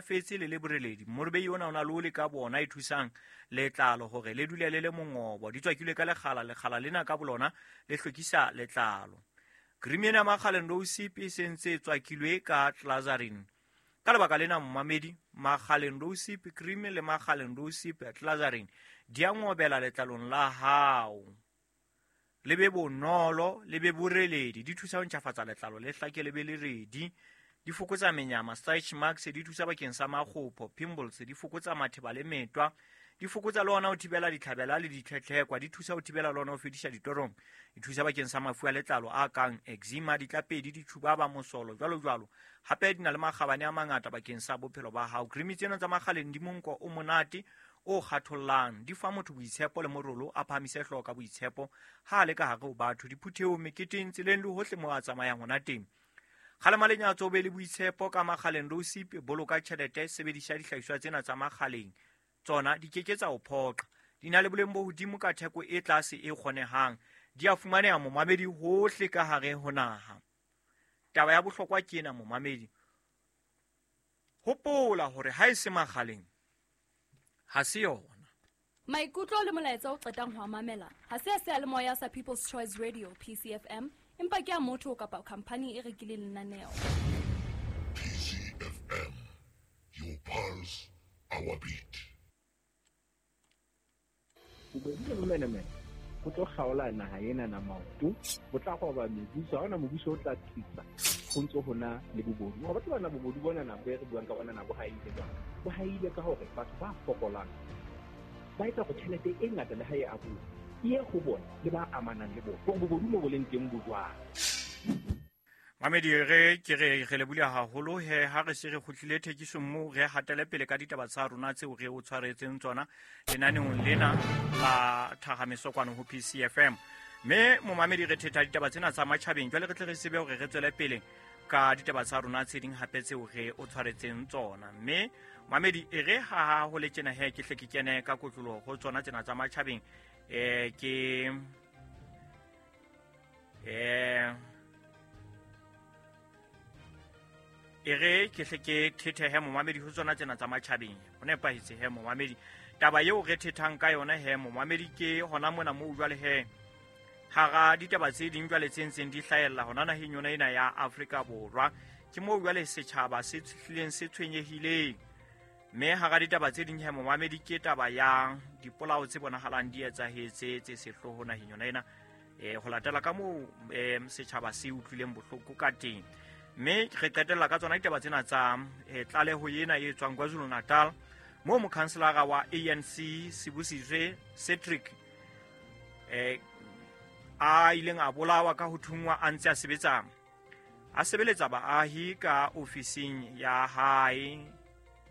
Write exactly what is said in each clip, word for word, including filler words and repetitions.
Fetse le le boreledi. Morobei ona o na le ole ka bona e thusang letlalo hore le dule le le mongobo. Di tswakilwe ka lekgala, lekgala lena ka bolona le hlwekisa letlalo. Cream ena ya Makgaleng Rosip e sentse e tswakilwe ka glycerin. Ka lebaka lena momamedi, Makgaleng Rosip cream le Makgaleng Rosip glycerin di a ngobela letlalong la hao. Le be bonolo, le be boreledi, di thusa ho ntjhafatsa letlalo le hlake le be le redi. Di fokotsa menyama, stretch marks, di thusa bakeng sa makgopho, pimples, di fokotsa matheba le metwa, di fokotsa le ona ho thibela ditlhabela le ditlhetlhekwa, di thusa ho thibela le ona ho fedisa ditorong, di thusa bakeng sa mafu a letlalo a kang eczema, ditlapedi, ditjhubaba, mosolo, jwalo jwalo. Hape di na le makgabane a mangata bakeng sa bophelo ba hao. Cream tsena tsa Makgaleng di monko o monate o kgathollang, di fa motho boitshepo le morolo, a phahamise hlooho ka boitshepo ha a le ka hare ho batho, diphuthehong, meketeng, tseleng le hohle moo a tsamayang hona teng. Kgalema lenyatso, o be le boitshepo ka Makgaleng Rosip, boloka tjhelete, sebedisa dihlahiswa tsena tsa Makgaleng. Tsona di keke tsa o phoqa. Di na le boleng bo hodimo ka theko e tlase e kgonehang. Di a fumaneha momamedi hohle ka hare ho naha. Taba ya bohlokwa ke ena momamedi. Hopola hore ha e se Makgaleng, ha se yona. Maikutlo le molaetsa o qetang ho a mamela ha se a seyalemoya sa People's Choice Radio P C F M, empa ke a motho kapa khamphani e rekileng lenaneo. P C F M, your pulse, our beat. Bobodu le bomenemene bo tlo kgaola naha ena na maoto, bo tla roba mebuso, ha hona mobuso o tla tsitsa ho ntso hona le bobodu. Hore batho bana bobodu bona na bo re buang ka bona na bo haile jwang? Bo haile ka hore batho ba fokolang ba etsa hore tjhelete e ngata le ha e abuwa e ye ho bona le ba amanang le bona. Hore bobodu mo bo leng teng bo jwang? Mamedi, re ke re re lebule haholo he ha re se re kgutlile thekisong moo re hatele pele ka ditaba tsa rona tseo re o tshwaretseng tsona lenaneong lena la Thahamiso kwano ho P C F M. Mme momamedi, re thetha ditaba tsena tsa matjhabeng, jwale re tle re tsebe hore re tswele pele ka ditaba tsa rona tse ding hape tseo re o tshwaretseng tsona. Mme mamedi, e re ha ha ho le tjena he ke hle ke kene ka kotloloho ho tsona tsena tsa matjhabeng. Eh, ke eh e re ke hle ke thethehe momamedi ho tsona tsena tsa matjhabeng. Ho nepahetse he momamedi. Taba eo re thethang ka yona he momamedi ke hona mona moo jwale he hara ditaba tse ding jwale tse ntseng di hlahella hona naheng yona ena ya Afrika Borwa. Ke moo jwale setjhaba se hlileng se tshwenyehileng. Mme hara ditaba tse ding he momamedi ke taba ya dipolao tse bonahalang di etsahetse tse sehloho naheng yona ena. Eh, ho latela ka moo, eh, setjhaba se utlwileng bohloko ka teng. Mme re qetella ka tsona ditaba tsena tsa, eh, tlaleho ena e tswang KwaZulu Natal, moo mokhanselara wa A N C Sibusizwe Cedric, eh, a ileng a bolawa ka ho thunngwa a ntse a sebetsa, a sebeletsa baahi ka ofising ya hae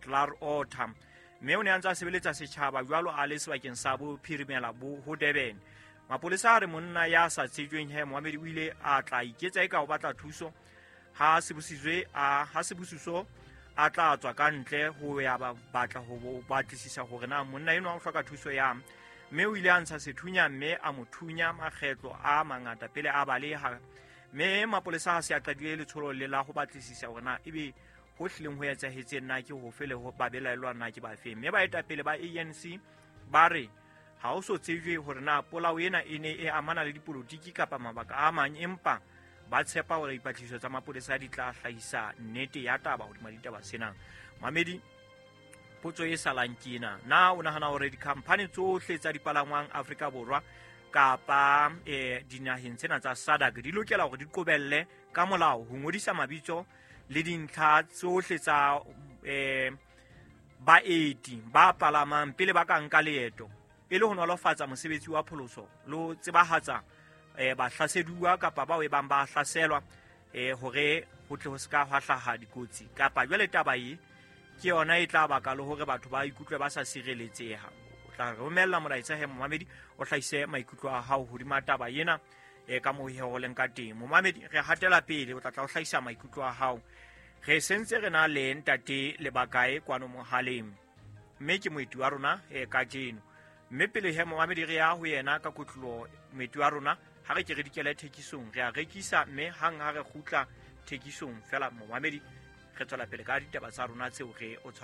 Klarotter. Mme o ne a ntse a sebeletsa setjhaba jwalo a le sebakeng sa bophirimela bo ho Durban. Mapolesa a re monna ya sa tsejweng he momamedi o ile a tla iketsa eka o batla thuso ha Sibusizwe a ha Sibusiso a tla tswa ka ntle ho ya ba batla ho bo batlisisa hore na monna enwa o hloka thuso ya. Mme o ile a ntsha sethunya mme a mo thunya makgetlo a mangata pele a baleha. Mme mapolesa ha se a qadile letsholo le la ho batlisisa hore na ebe ho hlileng ho etsahetseng na ke hofe le ho ba belaellwa na ke bafe. Mme baetapele ba A N C ba re ha ho so tsejwe hore na polao ena e ne e amana le dipolotiki kapa mabaka a mang, empa ba tshepa hore dipatlisiso tsa mapolesa di tla hlahisa nnete ya taba hodima ditaba sena. Mamedi, potso e salang ke ena: na o nahana hore dikhamphani tsohle tsa dipalangwang Afrika Borwa kapa, eh, dinaheng tsena tsa SADC di lokela hore di qobelle ka molao ho ngodisa mabitso le dintlha tsohle tsa, eh, baeti ba palamang pele ba ka nka leeto, e le ho nolofatsa mosebetsi wa pholoso le ho tsebahatsa, eh, bahlaseduwa kapa bao e bang ba hlaselwa, eh, hore ho tle ho se ka hwa hlaha dikotsi? Kapa jwale taba e ke yona e tla baka le hore batho ba ikutlwe ba sa sireletseha. O tla romella molaetsa he momamedi, o hlahise maikutlo a hao hodima taba ena, eh, ka moo ho leng ka teng. Momamedi, re hatela pele, o tla tla o hlahisa maikutlo a hao. Re sentse re na le ntate Lebakae kwano mohaleng, mme ke moeti wa rona, eh, kajeno. Mme pele he momamedi re ya ho yena ka kotloloho, moeti wa rona, ha re ke re dikele thekisong, re a rekisa, mme hang ha re kgutla thekisong fela momamedi Re tswela pele ka ditaba tsa rona tseo re o